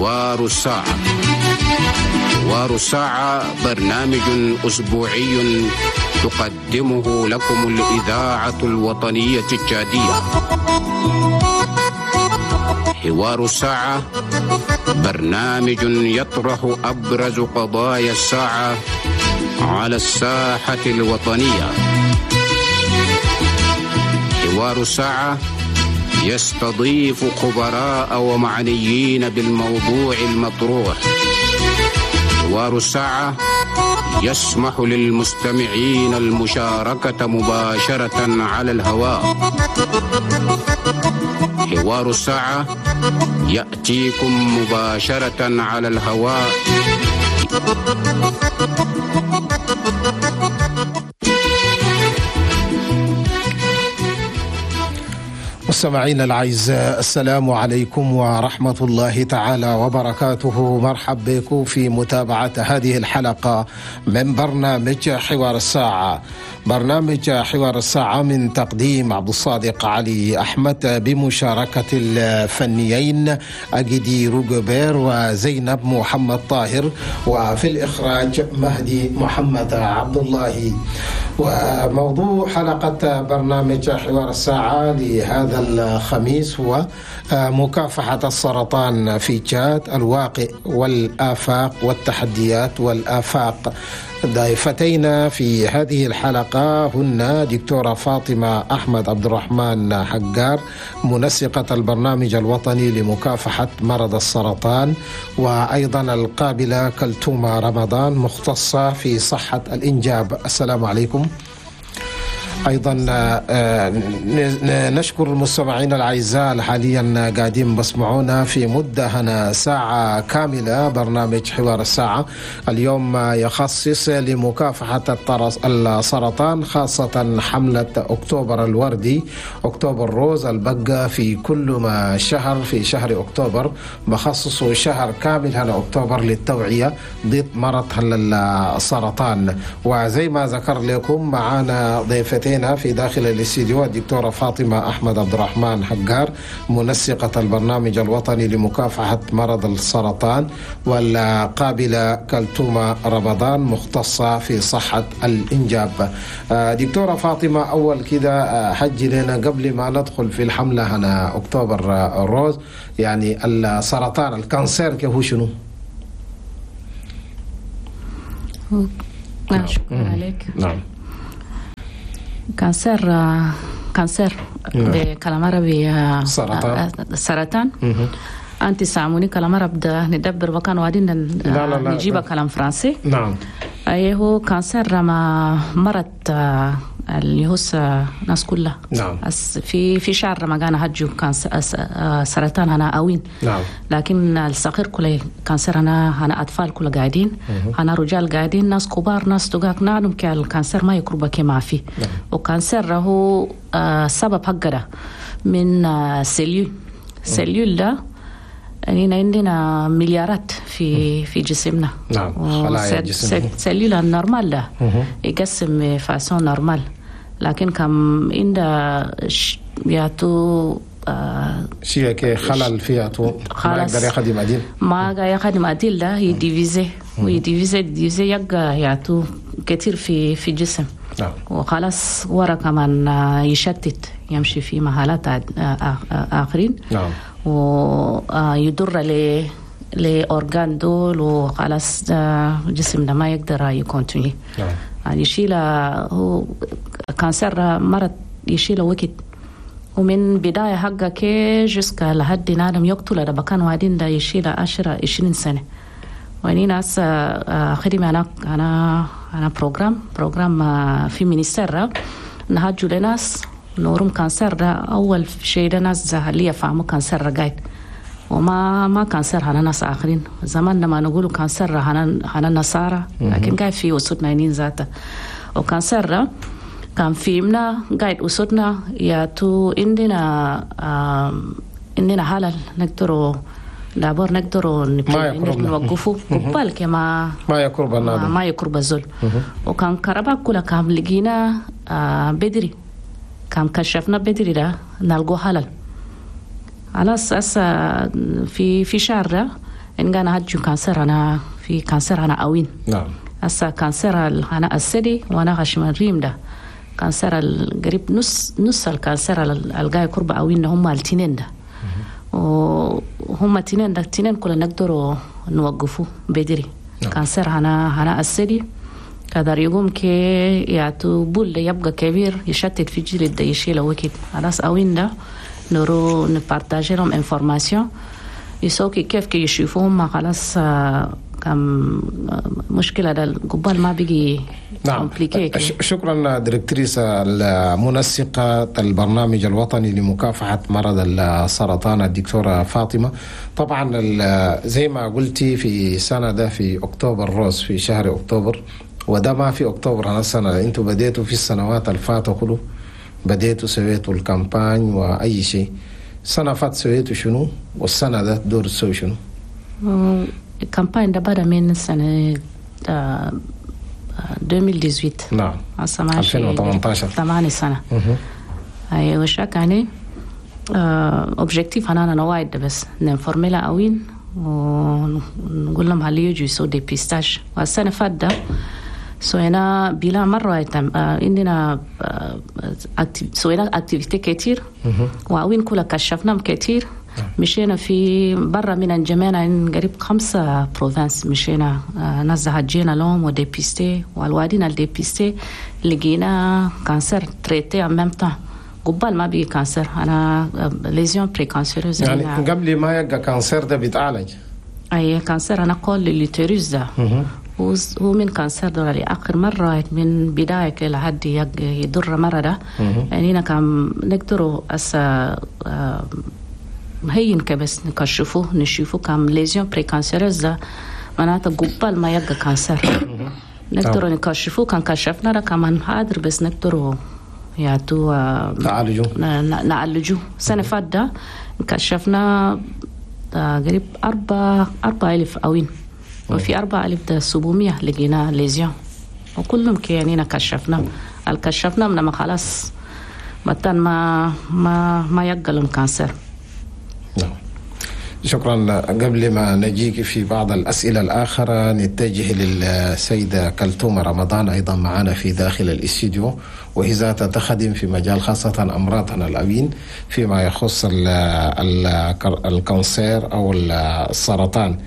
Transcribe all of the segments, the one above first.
حوار الساعة. حوار الساعة برنامج أسبوعي تقدمه لكم الإذاعة الوطنية التشادية. حوار الساعة برنامج يطرح أبرز قضايا الساعة على الساحة الوطنية. حوار الساعة يستضيف خبراء ومعنيين بالموضوع المطروح. حوار الساعة يسمح للمستمعين المشاركة مباشرة على الهواء. حوار الساعة يأتيكم مباشرة على الهواء. مستمعينا الأعزاء، السلام عليكم ورحمة الله تعالى وبركاته. مرحب بكم في متابعة هذه الحلقة من برنامج حوار الساعة. برنامج حوار الساعة من تقديم عبد الصادق علي أحمد بمشاركة الفنيين أجدي روجبير وزينب محمد طاهر، وفي الإخراج مهدي محمد عبد الله. وموضوع حلقة برنامج حوار الساعة لهذا الخميس هو مكافحة السرطان في تشاد، الواقع والآفاق والتحديات والآفاق. ضيفتينا في هذه الحلقة هن دكتورة فاطمة أحمد عبد الرحمن حجار، منسقة البرنامج الوطني لمكافحة مرض السرطان، وأيضا القابلة كلتومة رمضان، مختصة في صحة الإنجاب. السلام عليكم. أيضا نشكر المستمعين الأعزاء حاليا قاعدين بسمعونا في مدة هنا ساعة كاملة. برنامج حوار الساعة اليوم يخصص لمكافحة السرطان، خاصة حملة أكتوبر الوردي، أكتوبر روز البقى في كل ما شهر في شهر أكتوبر بخصص شهر كامل هنا أكتوبر للتوعية ضد مرض السرطان. وزي ما ذكر لكم معانا ضيفتين في داخل الاستديو، الدكتورة فاطمة أحمد عبد الرحمن حجار، منسقة البرنامج الوطني لمكافحة مرض السرطان، والقابلة كلتومة رمضان، مختصة في صحة الإنجاب. دكتورة فاطمة، أول كده حجي لنا قبل ما ندخل في الحملة هنا أكتوبر الروز، يعني السرطان ال cancer هو شنو؟ نعم، شكرا عليك. نعم، cancer بكلام عربي سرطان. سرطان. انت ساموني كلام عربي ده ندبر وكان وادين نجيب كلام فرنسي. نعم، ايه هو cancer ما مرض اللي هو ناس كلها. نعم، في شهر رمضان هجو cancer سرطان هنا اوين. نعم، لكن الصغير كله cancer هنا اطفال كله قاعدين، هنا رجال قاعدين، ناس كبار، ناس تقاك نعلم ك ال cancer ما يقرب ما فيه. نعم. و cancer هو سبب حقه من cellule ده يعني عندنا مليارات في جسمنا. نعم، خلايا الجسم. cellule ال normal ده يقسم façon normale، لكن كم عند يعطو شيء كي خلل فيها تو ما يقدر يخدم عديل، ما يخدم عديل ده ي diviser وي diviser diviser يبقى يعطو كثير في الجسم. نعم. وخلاص ورا كمان يشتت، يمشي في محلات آخرين. نعم. ويضر ل organes دول، وخلاص جسمنا ما يقدر ي continuer. نعم. يعني يشيل هو cancer مرض يشيل وقت، ومن بداية حقه كي jusqu'à لحد نادم يقتل ده بكان وادين ده يشيل 10 20 سنة. واني ناس خدمة أنا programme في ministère نهاجو لناس نورم cancer ده. أول شيء ده ناس اللي يفهموا cancer قاعد، وما cancer هنا ناس آخرين. زمان لما نقولوا cancer هنا نصارى، لكن قاعد في وسطنا ينين ذاته. و cancer كان في منا قاعد وسطنا يا تو عندنا حلل نقدروا d'abord نقدروا نوقفوا قبل كما ما يقرب ما يقرب الزول. وكان كربا كلها كان لقينا بدري، كان كشفنا بدري ده نلقوا حلل. خلاص هسه في شهر إن كان هجو cancer هنا في cancer هنا أوين. نعم. هسا cancer هنا الثدي وأنا خشم الريم ده cancer القريب نص ال cancer الجاي قرب أوين هم التنين ده. وهم تنين ده تنين كلنا نقدروا نوقفه بدري. نعم. cancer هنا الثدي قدر يقوم كي يعطو بول يبقى كبير يشتت في جلد ده يشيله وكيد خلاص أوين ده نرو ن partager لهم information يسوكي كيف كي يشوفوهم خلاص كم مشكلة ده قبال ما بيجي. نعم. شكرا directrice المنسقة البرنامج الوطني لمكافحة مرض السرطان الدكتورة فاطمة. طبعا زي ما قلتي في سنة ده في October Rose في شهر أكتوبر، وده ما في أكتوبر هذا السنة، انتوا بديتوا في السنوات الفاتة كله بديتوا سويتوا ال campagne وأي شيء. سنة فات سويتوا شنو والسنة ده دور تسوي شنو؟ ال campagne ده بدأ من سنة 2018. نعم 2018 8 سنة. أيوة شاك يعني objectif أنا نوايد بس ن informer لا أوين ونقول لهم هل يجوا يسووا dépistage. والسنة فات ده سوينا بلا مرة عندنا سوينا activités كتير وأوين كلها كشفناهم كتير. مشينا في برا من انجمينا قريب 5 provinces مشينا نزه جينا لهم و dépister والوادين ال dépistés لقينا cancer traité en même temps قبل ما بيجي cancer انا lésion précancéreuse يعني قبل ما يبقى cancer ده بيتعالج. اي cancer انا col l'utérus ده هو من cancer ده لآخر مرة من بداية لحد يضر مرة ده يعني أنا كان نقدروا أسا هين كبس نكشفوه نشوفوه كم lésion précancéreuse ده معناته قبل ما يبقى cancer نقدروا نكشفوه. كان كشفنا ده كمان حاضر بس نقدروا يعطوا نعالجوه نعالجوه. السنة فات ده كشفنا قريب 4,000 أوين وفي 4,700 لقينا lésion وكلهم كيانينا كشفنا الكشفنا من ما خلاص متن ما ما ما يقلهم cancer. نعم شكرا. قبل ما نجيك في بعض الأسئلة الآخرة نتجه للسيدة كلثوم رمضان أيضا معنا في داخل الاستديو، وهي ذات تخدم في مجال خاصة أمراضنا الأوين فيما يخص ال cancer أو السرطان.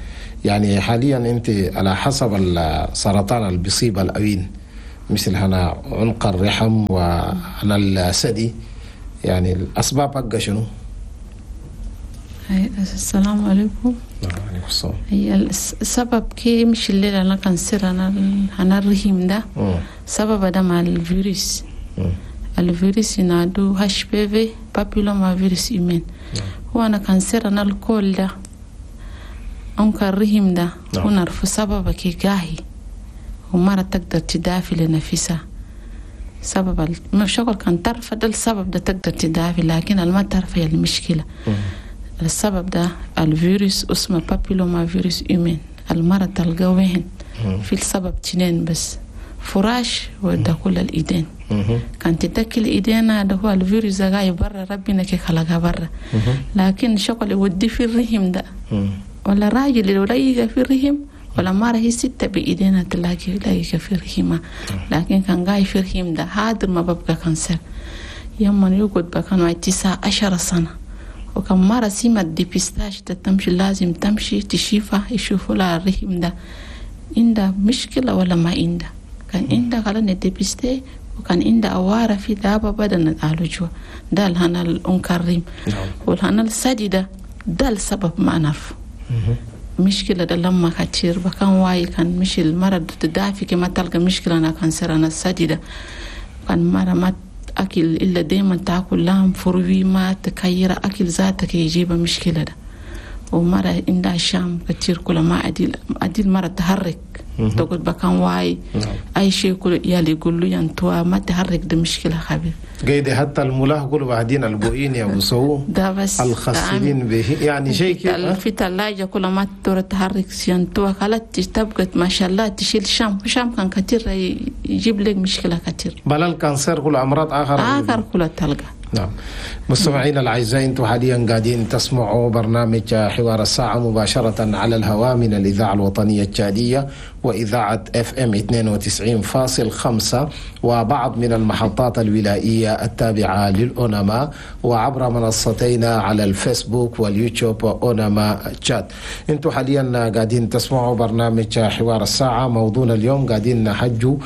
يعني حاليا أنت على حسب السرطان اللي بيصيب الأوين مثل هنا عنق الرحم وهنا الثدي، يعني الأسباب حقها شنو؟ السلام عليكم. وعليكم السلام. هي السبب كي مش الليلة أنا cancer أنا الرحم ده سبب ده مع الفيروس. الفيروس ينادو HPV papilloma virus humain. هو أنا cancer أنا ال col ده أنك الرحم ده ونعرف سبب كي جاهي ومرة تقدر تدافع لنفسها سبب الشغل كان تعرف ده السبب ده تقدر تدافع، لكن ما تعرف هي المشكلة. السبب ده الفيروس اسمه papilloma virus humain. المرض تلقاه وين في السبب تنين بس فراش وده كل الايدين. كان تتكل ايدينا ده هو الفيروس ده جاي برا ربنا كي خلقها برا، لكن شغل يودي في الرحم ده ولا راجل اللي ولا في الرحم ولا مرة هي ستة بإيدينا تلاقي في الرحمة، لكن كان جاي في الرحم ده هذا ما ببقى cancer. يوم يقعد بكانوا 19 سنة وكم مرة سيما ال dépistage ده تمشي لازم تمشي تشيفه يشوفوا لها الرحم ده عنده مشكلة ولا ما عنده. كان عنده خلاص dépister وكان عنده أوارة في دابة بدل نعالجوها. ده الهنا الأنكريم والهنا السدي ده السبب ما نعرف مشكلة ده لما كتير بكان واي كان مش المرض تدافي كما تلقى مشكلة أنا cancer أنا السدي ده كان مرة ما أكل إلا دايما تاكل لهم فروي ما تكير أكل ذاتك يجيب مشكلة ده. ومرة عندها شام كتير كل ما أديل مرة تحرك تقول بكان واي أي شيء كل يالي يقول له ينتوا ما تحرك ده مشكلة خبير قيد حتى الملاح كله بعدين البوئين يا أبو ده بس الخاصين به يعني شيء كده في ثلاجة كل ما تدور تحرك ينتوا خلاص تبقى ما شاء الله تشيل شام شام كان كتير يجيب لك مشكلة كتير بل ال cancer كل أمراض آخر كل تلقى. نعم. مستمعينا الأعزاء، أنتم حاليا قاعدين تسمعوا برنامج حوار الساعة مباشرة على الهواء من الإذاعة الوطنية التشادية وإذاعة FM 92.5 وبعض من المحطات الولائية التابعة للأوناما، وعبر منصتينا على الفيسبوك واليوتيوب أوناما تشاد. أنتم حاليا قاعدين تسمعوا برنامج حوار الساعة. موضوعنا اليوم قاعدين نحجوا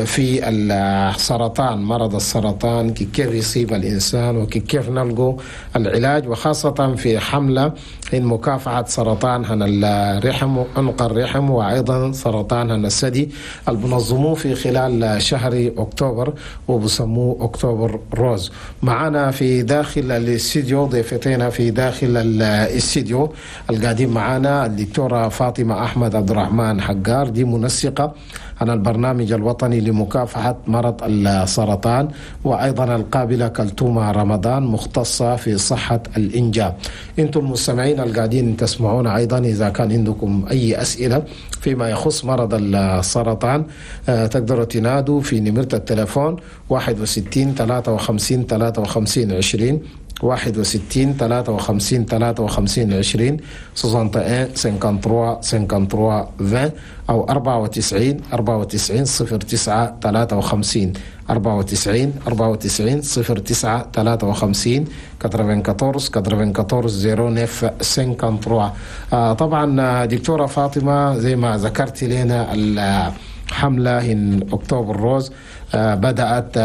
في السرطان، مرض السرطان كيف يصيب الإنسان وكيف نلقوا العلاج، وخاصة في حملة إن مكافحة سرطان هن الرحم، عنق الرحم، وأيضا سرطان هن الثدي، المنظموه في خلال شهر أكتوبر وبسموه أكتوبر روز. معنا في داخل الاستديو ضيفتنا في داخل الاستديو القادم معنا الدكتورة فاطمة أحمد عبد الرحمن حقار، دي منسقة عن البرنامج الوطني لمكافحة مرض السرطان، وأيضا القابلة كلتومة رمضان مختصة في صحة الإنجاب. أنتم المستمعين القاعدين تسمعون أيضا إذا كان عندكم أي أسئلة فيما يخص مرض السرطان تقدروا تنادوا في نمرة التلفون 61 53 53 20، 61 53 53 20، 61 53 53 20، أو 94 94 09 53، 94 94 09 53، 94 94 09 53. طبعا دكتورة فاطمة، زي ما ذكرت لنا الحملة إن أكتوبر روز بدأت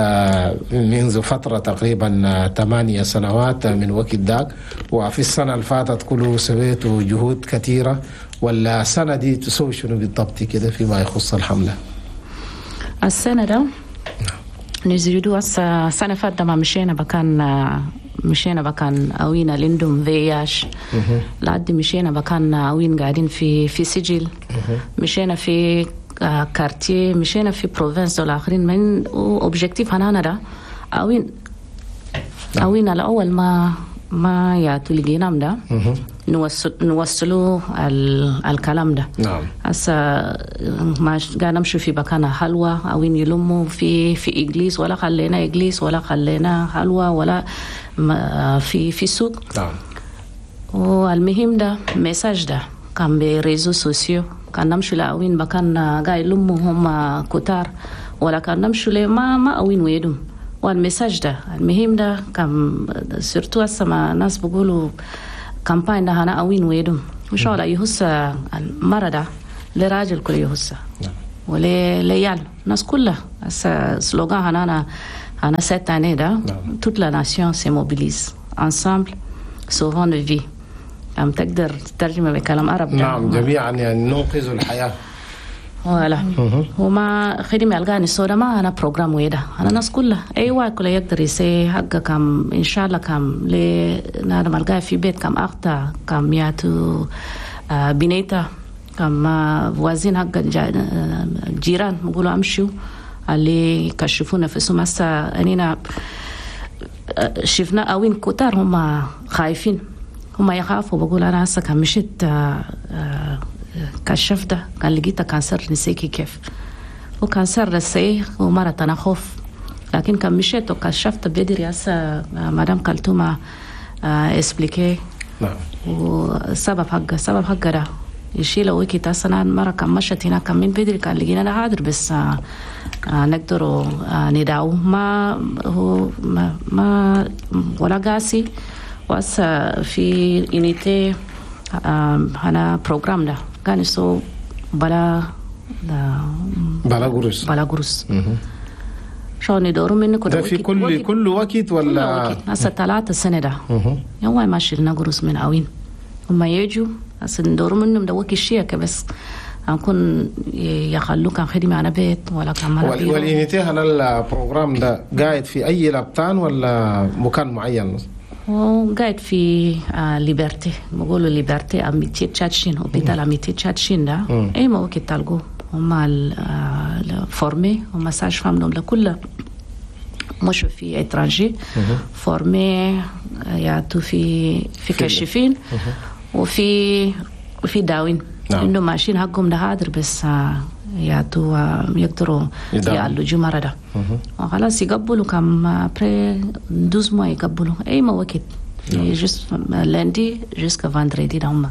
منذ فترة تقريبا 8 سنوات من وقت ذاك، وفي السنة اللي فاتت كله سويتوا جهود كثيرة، ولا السنة دي تسوي شنو بالضبط كده فيما يخص الحملة؟ السنة ده نزيدوا السنة فاتت ما مشينا بكان أوينا لندم فياش لعد مشينا بكان أوين قاعدين في سجل، مشينا في quartier، مشينا في province والآخرين. من objectif هنا ده أوين الأول ما ياتوا لقينام ده نوصلوا الكلام ده. نعم. هسا ما قاعد نمشي في مكان حلوة أوين يلموا في إجليس، ولا خلينا إجليس ولا خلينا حلوة ولا في سوق. نعم. والمهم ده message ده كان ب réseaux sociaux، كان نمشي لأوين مكان قاعد يلموا هم كتار، ولا كان نمشي ما أوين ويدهم. وال message ده المهم ده كان surtout هسه ما ناس بيقولوا campagne ده أنا أوين ويدهم وإن شاء الله يهس المرض لراجل كل يهس ولا ليال الناس كلها. هسه slogan أنا cette année ده toute la nation se mobilise ensemble sauvons nos vies. عم تقدر تترجمه بكلام عربي؟ نعم، جميعا يعني ننقذ الحياة. ولا وما خدمة الغاني السودا ما أنا programme ويدا أنا الناس كلها أي واحد كله يقدر يسي حقه كم إن شاء الله كم لنادم الغاني في بيت كم أختا كم ياتو بنيتا كم voisine حق جيران بيقولوا أمشوا اللي كشفوا نفسهم. هسه أنينا شفنا أوين كتار هم خايفين، هم يخافوا، بقول أنا هسه كان مشيت كشف ده كان لقيته cancer نسيكي كيف و cancer رسي ومرة أنا خوف، لكن كان مشيت وكشفت بدري. هسه مدام كلتومة expliqué. نعم. وسبب حقه سبب حقه ده يشيل ويكي هسه مرة كان مشت هناك كان من بدري كان لقينا حاضر بس نقدروا نداوه ما هو ما ولا قاسي. وهسه في unité هنا programme ده كان يسو بلا بلا قروش بلا قروش شو ندورو منك ده في كل وقت ولا هسه 3 سنة ده يوم ما شلنا قروش من عوين هما يجوا هسه ندورو منهم ده وقت الشيكة بس نكون يخلوك كان خدمة على بيت ولا كان وال unité هنا ال programme ده قاعد في أي لبتان ولا مكان معين؟ وقاعد في Liberté، بقولوا Liberté Amitié Tchad-Chine، hôpital Amitié Tchad-Chine ده اي ما وقت تلقوه هما formés هما sages-femmes لكل مش في étranger formés يعطوا في كشفين وفي داوين. نعم. انه ماشيين حقهم ده حاضر بس يعطوا يقدروا يعالجوا مرض وخلاص يقبلوا كم après 12 mois يقبلوا اي ما وقت juste lundi jusqu'à vendredi ده هم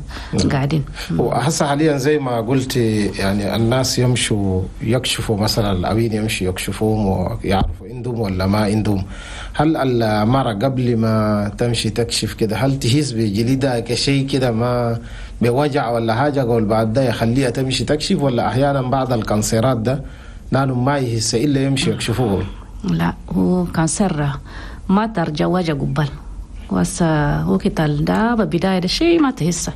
قاعدين. وهسه حاليا زي ما قلت يعني الناس يمشوا يكشفوا مثلا الأبين يمشوا يكشفوهم ويعرفوا عندهم ولا ما عندهم. هل المرأة قبل ما تمشي تكشف كده هل تهز بجلدها كشيء كده ما بوجع ولا حاجة قول بعد ده يخليها تمشي تكشف، ولا أحيانا بعض ال cancer ات ده لأنه ما يهس إلا يمشي يكشفوه؟ لا هو cancer ما ترجع وجع قبل بس هو كتال ده بداية ده شيء ما تهسه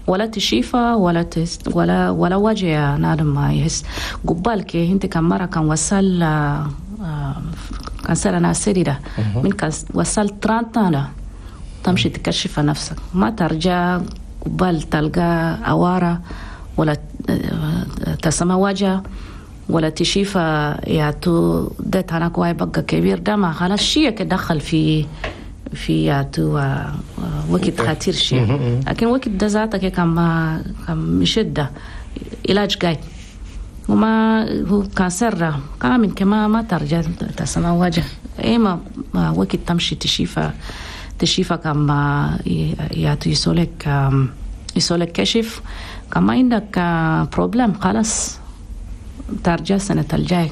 ولا تشيفة ولا تهس ولا وجع نادم ما يهس قبال كي انت كم مرة كان وصل cancer أنا سريرة من كان وصل 30 ده تمشي تكشف نفسك ما ترجع قبال تلقى عوارة ولا تسمى وجع ولا تشيفة يعطو ده تناك واي بقى كبير ده ما خلاص شيء كدخل في يعطو وقت خطير شيء. لكن وقت ده ذاتك كان مشدة علاج جاي وما هو cancer كمان كما ما ترجع تسمى وجه اي ما وقت تمشي تشيفة كما يعطو يسولك كشف كما عندك problème خلاص ترجع سنة الجاي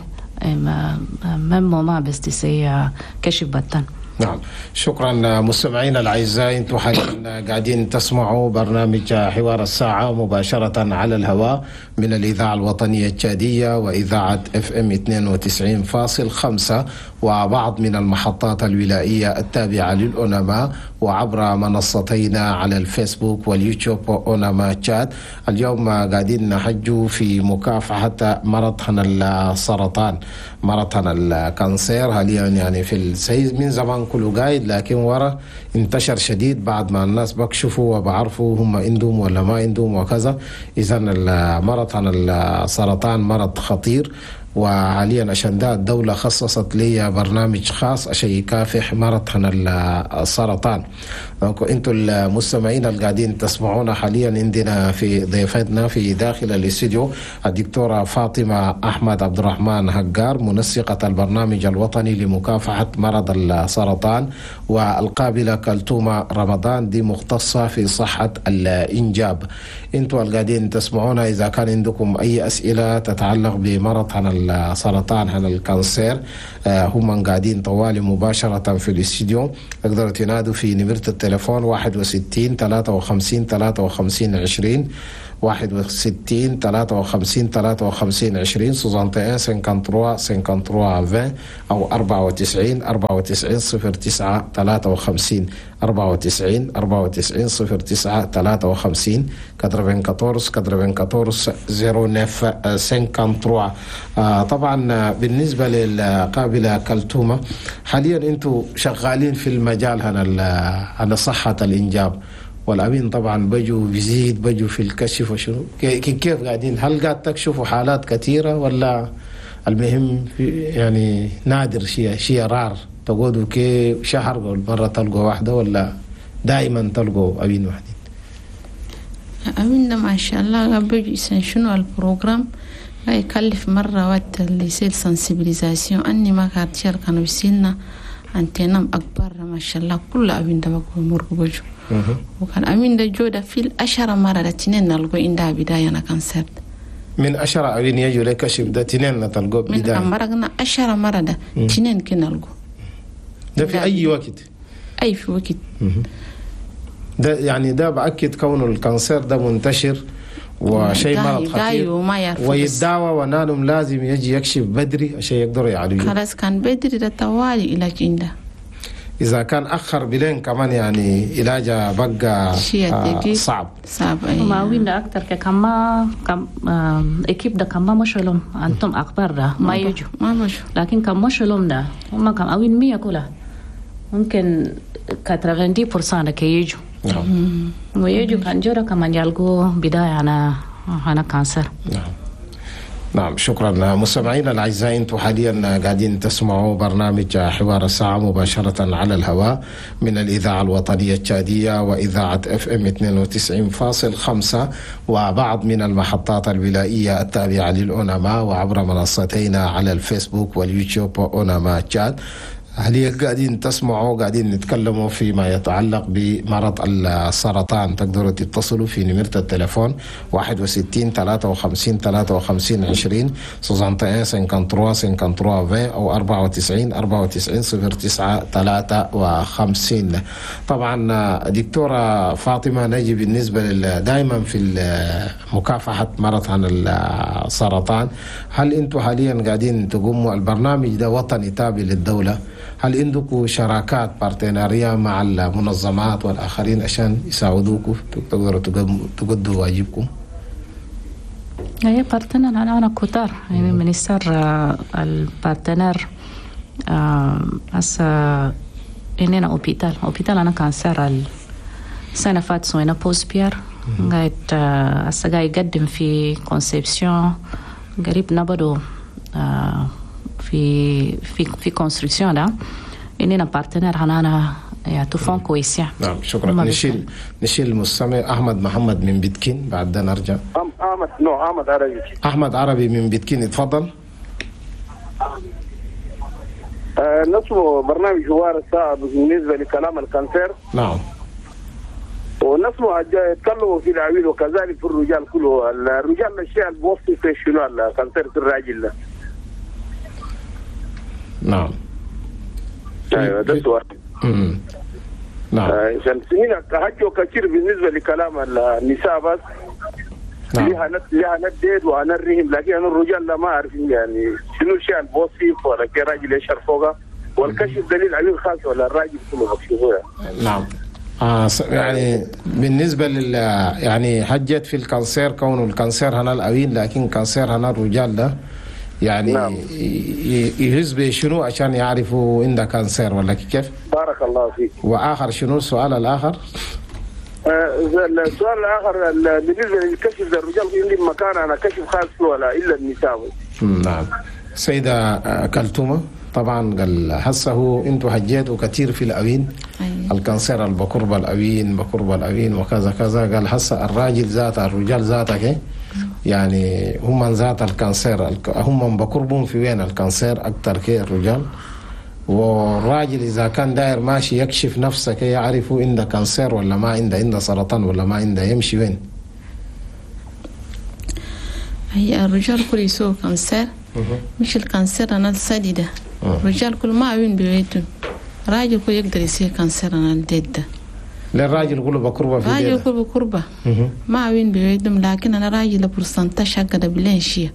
ما بس تسي كشف بطن. نعم شكرا مستمعينا الاعزاء، انتم حاليا قاعدين تسمعوا برنامج حوار الساعة مباشرة على الهواء من الاذاعة الوطنية التشاديه واذاعة FM 92.5 وبعض من المحطات الولائيه التابعة للأوناما وعبر منصتينا على الفيسبوك واليوتيوب اوناما تشاد. اليوم قاعدين نحجوا في مكافحة مرض السرطان، مرض ال cancer حاليا يعني في السيز من زمان كله قايد، لكن ورا انتشر شديد بعد ما الناس بكشفوا وبعرفوا هم عندهم ولا ما عندهم وكذا. اذا المرض عن السرطان مرض خطير، وحاليا عشان ده الدولة خصصت لي برنامج خاص عشان يكافح مرض عن السرطان. انتوا المستمعين اللي قاعدين تسمعونا حاليا عندنا في ضيفتنا في داخل الاستوديو الدكتورة فاطمة أحمد عبد الرحمن هجار، منسقة البرنامج الوطني لمكافحة مرض السرطان، والقابلة كلتومة رمضان دي مختصة في صحة الإنجاب. انتوا اللي قاعدين تسمعونا إذا كان عندكم أي أسئلة تتعلق بمرض عن السرطان عن ال cancer هم قاعدين طوالي مباشرة في الاستوديو، تقدروا تنادوا في نمرة التليفون 61 53 53 20 61 53 53 20 61 53 53 20 أو 94 94 09 53 94 94 09 53 94 94 09 53. طبعا بالنسبة للقابلة كلتومة، حاليا انتم شغالين في المجال هنا صحة الإنجاب، والأمين طبعا بجوا بيزيد بجوا في الكشف وشنو كيف قاعدين؟ هل قاعد تكشفوا حالات كثيرة ولا المهم يعني نادر شيء rare تقعدوا كي شهر مرة تلقوا واحدة ولا دائما تلقوا أبين واحدين؟ أبين ما شاء الله بيجي شنو ال programme لا يكلف مرة وقت اللي يصير sensibilisation أني ما كارتير كانوا يسيلنا أنتنا أكبر ما شاء الله كل أبين ده بقول مرق بجو. وكان أمين ده جودة في الأشهر مرة ده تنين نلقو عندها بداية أنا cancer من أشهر أبين يجوا لك كشف ده تنين نتلقو بداية من مرقنا أشهر مرة ده تنين كنلقو ده في أي وقت؟ أي في وقت ده يعني ده بأكد كونه ال cancer ده منتشر وشيء مرض خطير ويداوى ونالهم لازم يجي يكشف بدري عشان يقدروا يعالجوه. خلاص كان بدري ده طوالي علاج عنده. إذا كان أخر بلين كمان يعني علاجه بقى صعب. صعب. ما وين أكتر كما كم équipe ده كما مشلوم أنتم أكبر ده ما يجوا ما مشوا، لكن كم مشلوم ده هم كم أوين 100 كلها ممكن 90% ده كيجوا. نعم. ويجوا كان جورا كمان يلقوا بداية أنا cancer. نعم. نعم، شكرا. مستمعينا الاعزاء، انتم حاليا قاعدين تسمعوا برنامج حوار الساعة مباشرة على الهواء من الاذاعة الوطنية التشاديه واذاعة FM 92.5 وبعض من المحطات الولائيه التابعة للأوناما، وعبر منصتينا على الفيسبوك واليوتيوب اوناما تشاد. حاليا قاعدين تسمعوا، قاعدين نتكلموا فيما يتعلق بمرض السرطان. تقدروا تتصلوا في نمرة التليفون 61 53 53 20، 61 53 53 20، أو 94 94 09 53. طبعا دكتورة فاطمة، نجي بالنسبة دائما في مكافحة مرض عن السرطان، هل انتم حاليا قاعدين تقوموا البرنامج ده وطني تابع للدولة؟ هل عندكم شراكات، partenariat، مع المنظمات والآخرين عشان يساعدوكم تقدروا تقدوا واجبكم؟ هي partenaires أنا كتار، يعني ministère ال partenaires هسه إننا hôpital أنا cancer السنة فات سوينا pose pierre، قاعد هسه قاعد يقدم في conception، قريب نبدو في construction ده. إننا partenaires هنا يعطوا fonds cohésion. نعم، شكرا. نشيل المستمع احمد محمد من بيتكين، بعد ده نرجع. احمد، no، احمد عربي. احمد عربي من بيتكين، اتفضل. نسمع برنامج حوار الساعة بالنسبة لكلام ال cancer. نعم. ونسمع يتكلموا في العويل وكذلك في الرجال كله. الرجال الشيء اللي بوصف في شنو ال cancer في الراجل ده؟ نعم. ايوه، ده السؤال. نعم. عشان هنا حكوا كثير بالنسبة لكلام النساء بس. نعم. لها نديد وانا الرهم، لكن انا الرجال لا ما عارفين يعني شنو الشيء البوصيف ولا كي راجل يشهر فوقه، والكشف دليل عليه الخاص ولا الراجل كله مكشوفة. نعم. يعني بالنسبة لل يعني حجت في ال cancer، كونه ال cancer هنا الأوين، لكن cancer هنا الرجال ده يعني نعم. يهز بشنو عشان يعرفوا عنده cancer ولا كيف؟ بارك الله فيك. وآخر شنو السؤال الآخر؟ السؤال الآخر بالنسبة للكشف للرجال عندي مكان أنا كشف خاص ولا إلا النساء؟ نعم. سيدة كلثومة، طبعا قال هسه هو انتوا حجيتوا كثير في الأوين. أيوة. ال cancer البكرب الأوين، بكرب الأوين وكذا كذا. قال هسه الراجل ذاته، الرجال ذاتك يعني هم ذات ال cancer، هم بكربهم في وين ال cancer أكثر كي الرجال. والراجل إذا كان داير ماشي يكشف نفسه كي يعرفوا عنده cancer ولا ما عنده، عنده سرطان ولا ما عنده، يمشي وين؟ هي الرجال كل يسووا cancer، مش ال cancer أنا الثدي ده. الرجال كل ما وين بيتهم، راجل كل يقدر يصير cancer أنا الديد ده. للراجل كله بكربة في راجل ديده. كل بكربة ما وين بيتهم، لكن أنا راجل pourcentage حق ده بلين شيء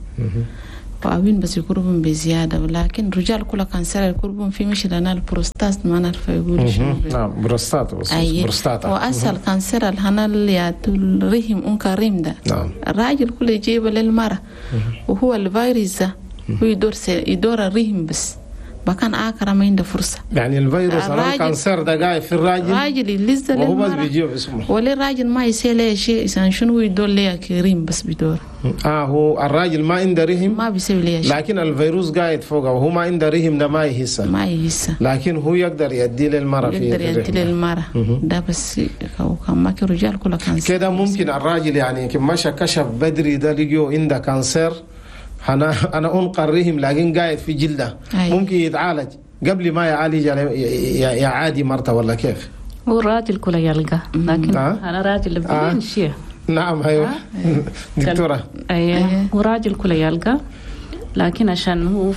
وعوين بس يقربهم بزيادة، ولكن رجال كل cancer يقربهم في مش لنا البروستات ما نعرف يقول شنو. نعم، بروستات بس. أي. بروستاتا. وأسهل cancer الهنا اللي الرحم أنك ريم ده. نعم. الراجل كله يجيبه للمرأة، وهو الفيروس ده هو يدور الرحم بس بكان آخر ما عنده فرصة. يعني الفيروس أنا ال cancer ده قاعد في الراجل، راجل يلز وهو بس للمرأة. بيجيه باسمه. ولا الراجل ما يسيل ليه شيء، إذا شنو يدور ليه كريم بس بيدور. هو الراجل ما عنده رحم، ما بيسوي ليه شيء. لكن الفيروس قاعد فوقه وهو ما عنده رحم ده ما يحسه. ما يحسه. لكن هو يقدر يدي للمرأة في يقدر في يدي الرحم. للمرأة ده بس كان ما كان رجال كله cancer. كده ممكن الراجل يعني كم مشى كشف بدري ده لقيه عنده cancer انا انقر رحم لكن قاعد في جلده. أي. ممكن يتعالج قبل ما يعالج يعادي مرته ولا كيف؟ هو الراجل كله يلقى، لكن انا راجل بدين شيء. نعم، ايوه دكتورة. ايوه، هو راجل كله يلقى، لكن عشان هو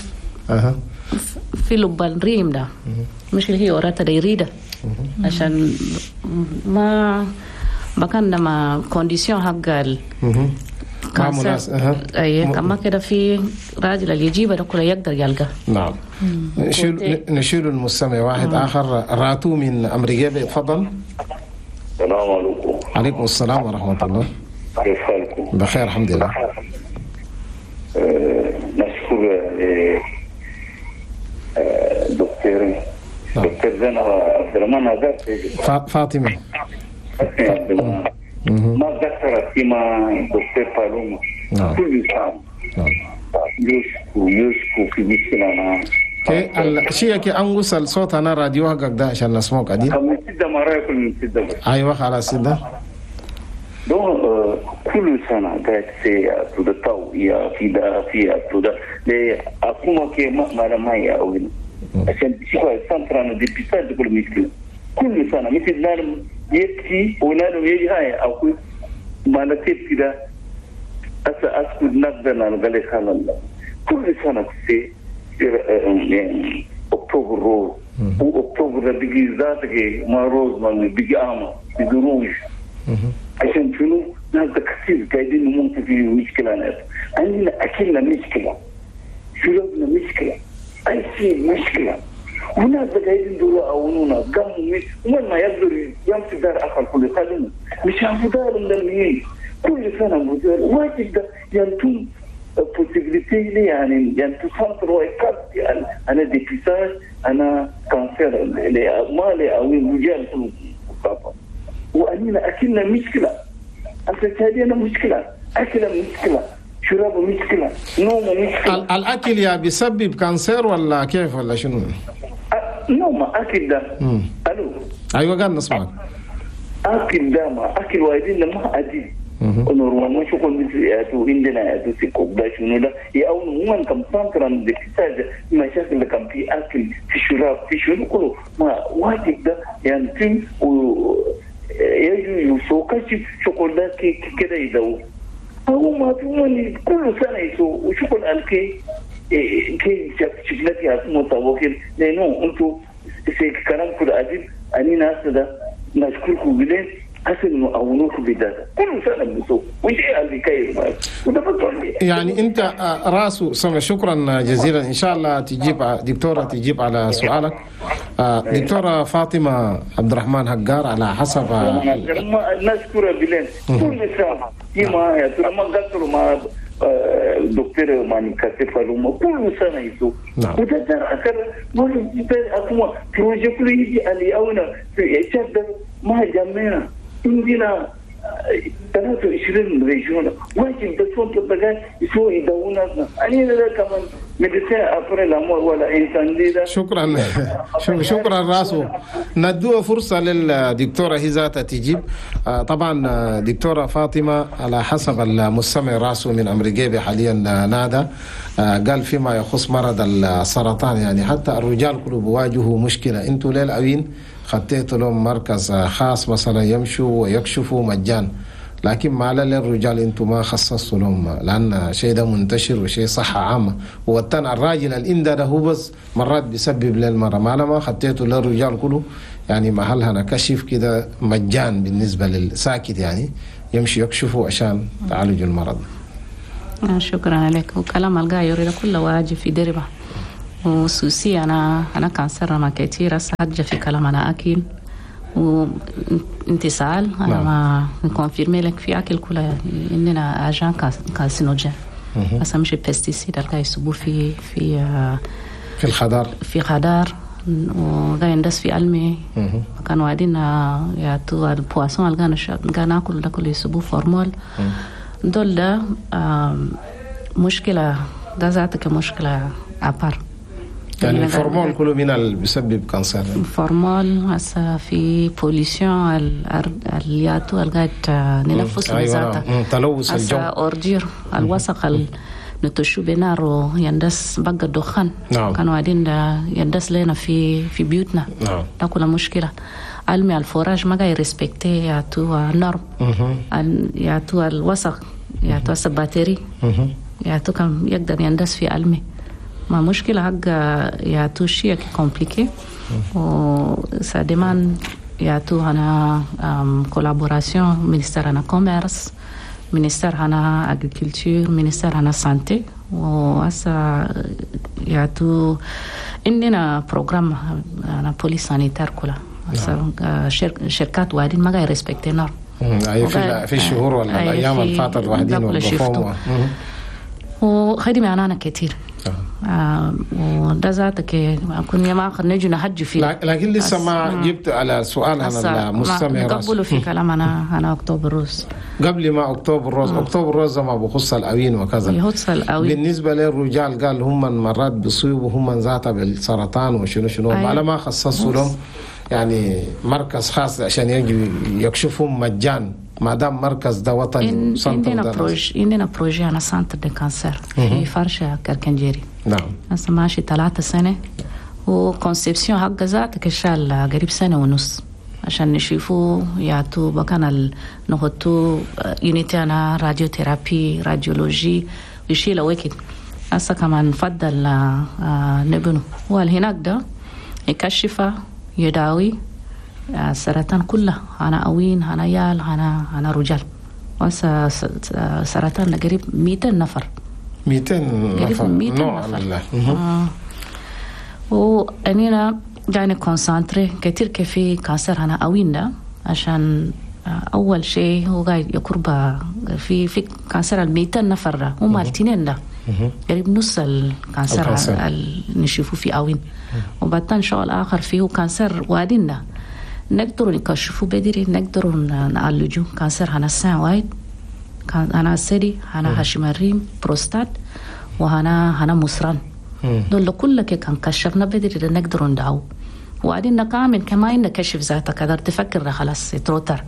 في لب الريم ده مش اللي هي وراتها ده يريده عشان ما بكان ما condition حق ما مناسب. اي، كما كده في راجل اللي يجيبه ده كله يقدر يلقى. نعم، نشيل المستمع واحد اخر، راتو من امريكا، تفضل. السلام عليكم. عليكم السلام ورحمة الله. كيف حالكم؟ بخير الحمد لله. نشكر دكتور. نعم. دكتور زين عبد الرحمن هذا. فاطمه. عبد الرحمن. ما ذكرت فيما دكتور بالوما. نعم. كل سنة نعم. يشكو في مشكلة. الشيء كي أنقص الصوت أنا راديو حقك ده عشان نسمعك عديل. من سدة ما رأيكم من سدة. أيوة خلاص سدة. donc كل سنة قاعد في تودتاو يا في دا في تودا ل أقوم كي ما ما يا أوين عشان شو ال centre أنا dépistage كل مشكلة كل سنة مثل نالم يبكي ونالم يجي هاي أو كل ما نكتب كده أسكت نقدر نقول خلاص كل سنة في octobre rose و أكتوبر بيجي ذاتك ما rose ما بيجي أعمى بيجي روج عشان شنو؟ ناس كثير قاعدين نموت في مشكلة. ناس عندنا أكلنا مشكلة، شربنا مشكلة، أي شيء مشكلة، وناس قاعدين دول أونونا قاموا وين ما يقدر يمشي دار آخر كل خدمة مش عارف دار من المين كل سنة مدير واجد ده ينتم possibilité يعني ينتم centre ويكات يعني أنا dépistage أنا cancer مالي أو رجال كل وأننا أكلنا مشكلة، أنت مشكلة، أكلنا مشكلة، شراب مشكلة، نوم مشكلة. الأكل يا بيسبب cancer ولا كيف ولا شنو؟ نوم أكل ده. ألو. أيوة قال نسمعك. أكل ده ما أكل وايدين ما أدي. normalement شغل مثل ياتو عندنا ياتو سيكوب ده شنو ده يا أو هم كم centre dépistage مشاكل اللي كان في أكل في شراب في شنو كله ما واجب ده يعني تيم و يجوا يسوق شغل ده كده يدو هو ما في كل سنة يسوق وشغل الكي كي شفنا فيها متوكل لأنه أنتوا كلام كل أديب أني ناس ده نشكركم بالله حسن أونوك بداية كل سنة بسوق وشيء اللي كيف يعني أنت راسه سمع. شكرا جزيلا، إن شاء الله تجيب دكتورة تجيب على سؤالك. دكتورة فاطمة عبد الرحمن هجار على حسب نشكر بالله كل سنة كما يا ترى ما قصروا مع دكتور ماني كاتب فلوما كل سنة يسوق وده أكثر ما أكون projet كله يجي علي أونا في شهر ما جمعنا عندنا 23 régions واجب بسون تبقى يسوي يدونا أنا لا كمان médecin après la mort ولا إنسان ده. شكرا شكرا راسو. ندوه فرصة للدكتورة هي ذاتها تجيب. طبعا دكتورة فاطمة على حسب المستمع راسو من أمريكا حاليا نادى قال فيما يخص مرض السرطان يعني حتى الرجال كلهم بيواجهوا مشكلة. انتوا ليه الأوين خطيتوا لهم مركز خاص مثلا يمشوا ويكشفوا مجان، لكن ما للرجال انتم ما خصصتوا لهم لان شيء ده منتشر وشيء صحة عامة. والتن الراجل الانده ده هو بس مرات بيسبب للمرأة، ما ما خطيتوا للرجال كله يعني محل هنا كشف كده مجان بالنسبة للساكت يعني يمشي يكشفوا عشان تعالج المرض. شكرا لك. وكلام القاير ده كله واجب في دربه وسوسي أنا cancer ما كتير أسجل في كلام أنا أكل وانتصال أنا ما ن confirmer لك في أكل كله إننا agent carcinogène بس مش pesticides اللي يسبوا في في في الخضار في خضار وغاي ندس في علمي كانوا قاعدين يعطوا ال poisson اللي كانوا ناكل ده كله يسبوا formol دول ده مشكلة ده ذاتك مشكلة à part يعني ال formol كله من اللي بيسبب cancer. ال formol هسه في pollution الياتو القاعد ننفس. أيوة. تلوث الجو هسه ordures الوسخ نتشو بنار يندس بقى الدخان. نعم. كانوا قاعدين يندس لنا في بيوتنا. نعم. ده كله مشكلة. علمي ال forage ما قاعد respecter يعطوا normes يعطوا الوسخ يعطوا batterie يعطوا كم يقدر يندس في علمي ما مشكلة حق يعطوا شيء compliqué و ça demande يعطوا هنا collaboration ministère هنا commerce ministère هنا agriculture ministère هنا santé وهسا يعطوا عندنا programme هنا police sanitaire كلها شركات وادين ما قاعد respecter normes. أي في الشهور ولا الأيام اللي فاتت واحدين وقفوهم وخدمة أنا كتير. وده ذاتك كنا ما نجي نحج فيه. لكن لسه ما جبت على سؤال انا المستمع قبلوا في كلام انا October rose قبل ما October rose. October rose ما بخص الاوين وكذا، يخص الاوين. بالنسبة للرجال قال هم مرات بيصيبوا هم ذاتها بالسرطان وشنو شنو. أيوة. ما خصصوا لهم يعني مركز خاص عشان يجي يكشفهم مجان، ما دام مركز ده وطني. عندنا projet انا centre de cancer في فرشة كركنجيري. نعم. هسه ماشي 3 سنة، و conception حق ذاتك شال قريب 1.5 سنة عشان نشوفوا يعطوا بكان نحطوا unité انا radiothérapie radiologie ويشيل وقت. هسه كمان نفضل نبنو وهناك ده يكشفه يداوي السرطان كله، أنا أوين، أنا يال، أنا رجال. وهسه سرطان قريب 200 نفر. 200 نفر. 200 نفر. وأنينا يعني concentrer كتير كفي cancer أنا أوين ده، عشان أول شيء هو قاعد يقرب في cancer 200 نفر ده، هم الاثنين ده قريب نص ال cancer اللي نشوفه في أوين. وبعدين شغل آخر فيه cancer وادين ده نقدر نكشفه بدري، نقدر نعالجه. cancer هنا sein وايد، هنا الثدي، هنا خشم الريم، بروستات، وهنا مصران. دول كلك كان كشفنا بدري نقدر ندعو. وبعدين كامل كمان نكشف ذاتك قدر تفكر خلاص trop tard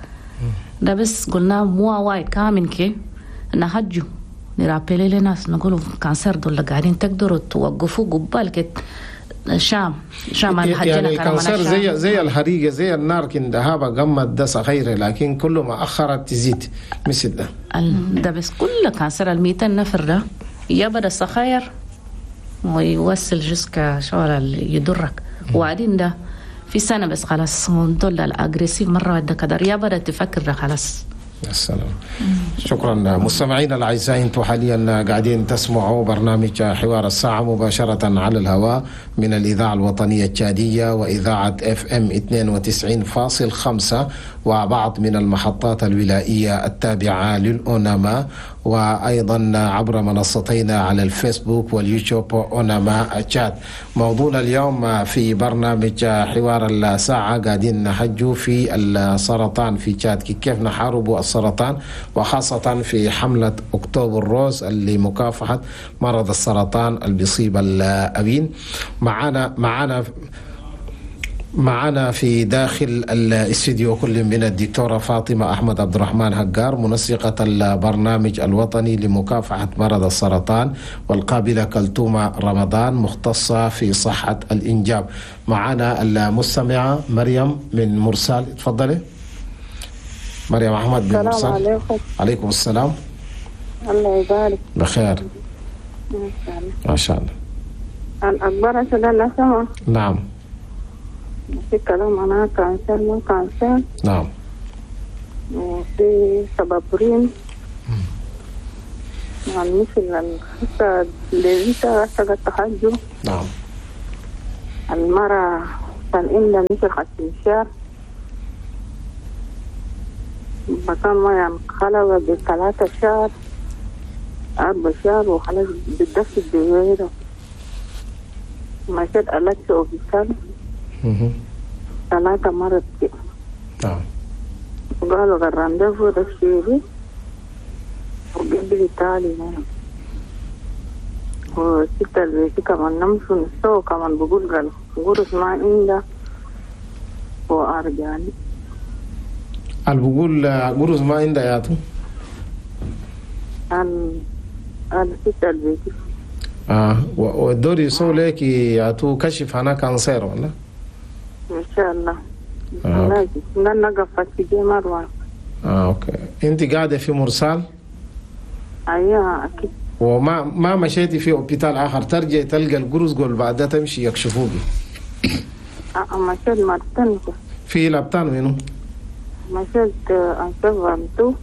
ده. بس قلنا مو وايد كامل كي نهجو ن rappeler لناس نقولوا cancer دول قاعدين تقدروا توقفوا قبال شام يعني ال cancer زي الحريقه، زي النار كندها قمت ده صغيرة، لكن كل ما اخرت تزيد مثل ده. ده بس كل cancer 200 نفر ده يبدا صغير ويوصل jusqu'à شغل يضرك. وبعدين ده في سنة بس خلاص دول ال agressif مرة واحدة كدر يبدا تفكر خلاص. السلام. شكرا مستمعينا الاعزاء، انتم حاليا قاعدين تسمعوا برنامج حوار الساعة مباشرة على الهواء من الاذاعة الوطنية التشاديه واذاعة FM 92.5 وبعض من المحطات الولائيه التابعة للاوناما، وايضا عبر منصتينا على الفيسبوك واليوتيوب اوناما تشاد. موضوعنا اليوم في برنامج حوار الساعة قاعدين نحجوا في السرطان في تشاد، كيف نحارب السرطان، وخاصة في حملة October rose اللي مكافحة مرض السرطان اللي بيصيب الأبين. معنا في داخل الاستديو كل من الدكتورة فاطمة أحمد عبد الرحمن هجار، منسقة البرنامج الوطني لمكافحة مرض السرطان، والقابلة كلثومة رمضان مختصة في صحة الإنجاب. معنا المستمعة مريم من مرسال، تفضلي مريم أحمد من مرسال. السلام عليكم. عليكم السلام. الله يبارك. بخير ما شاء الله. الأخبار سلام. نعم. في كلام أنا cancer ما cancer. نعم. وفي سبب ريم يعني مثل الخسة لذيذة رسقة تحجو. نعم. المرة كان إلا مثل خسنشار بكان ما يعني خلوة ب3 شهر 4 شهر وخلاص بالدفع الدويرة مشيت ألتش أوفيسال 3 مرات. نعم. وقالوا الرانديفو ده شيري وقبل تالي يعني وستة البيتي كمان نمشوا نسوا كمان بقول قالوا قرص ما عنده وأرجعني. قال بقول قرص ما عنده يا تو. قال ستة البيتي. والدور يسوي لك يا تو كشف أنا cancer ولا؟ إن شاء الله. لا نقف في مروة. okay. أنت قاعدة في مرسال؟ أيوة أكيد. وما ما مشيتي في hôpital آخر ترجع تلقى القرص قول بعدها تمشي يكشفوك. مشيت مرتين. في l'hôpital وينو؟ مشيت أنسفانتو.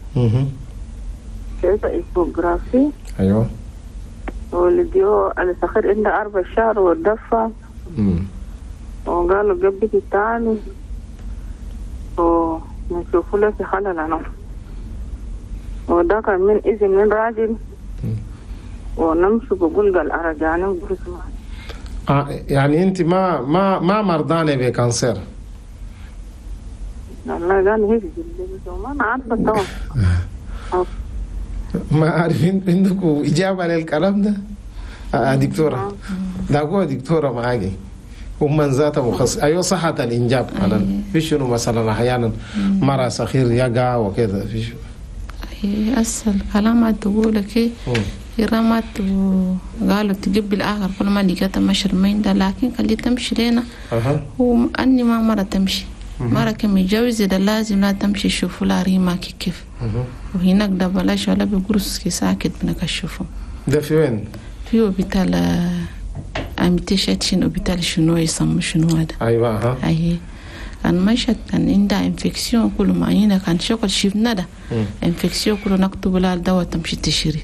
شفت échographie. أيوة. ولديو الصخير عنده 4 شهر والدفع. وقالوا قبل تعالي ونشوفوا له في خلل أنا. وده كان من إذن من راجل. ونمشي بقول قال أرجعني وقرص يعني أنت ما ما ما مرضانة ب cancer؟ والله قال هيك ما أنا عارفة طبعا. ما عارفين عندكم إجابة للكلام ده؟ دكتورة ده هو دكتورة معاكي ومن ذاته مخصص. أيوة صحة الإنجاب مثلا في شنو مثلا أحيانا مرة صخير يقع وكذا في شنو؟ أسأل كلام تقول كي رمت وقالوا تجيب الآخر كل ما لقيتها مشر مين ده، لكن خلي تمشي لنا وأني ما مرة تمشي مرة كم يتجوز ده لازم لا تمشي يشوفوا لها ريما كيف وهناك ده بلاش ولا بيقرص كي ساكت بنكشفه. ده في وين؟ في hôpital Amitié Chrétienne hôpital شنو يسمى شنو هذا. أيوة. أيه كان مشت كان عندها infection كل ما هنا كان شغل شفنا ده infection كله نكتب لها الدواء تمشي تشتري.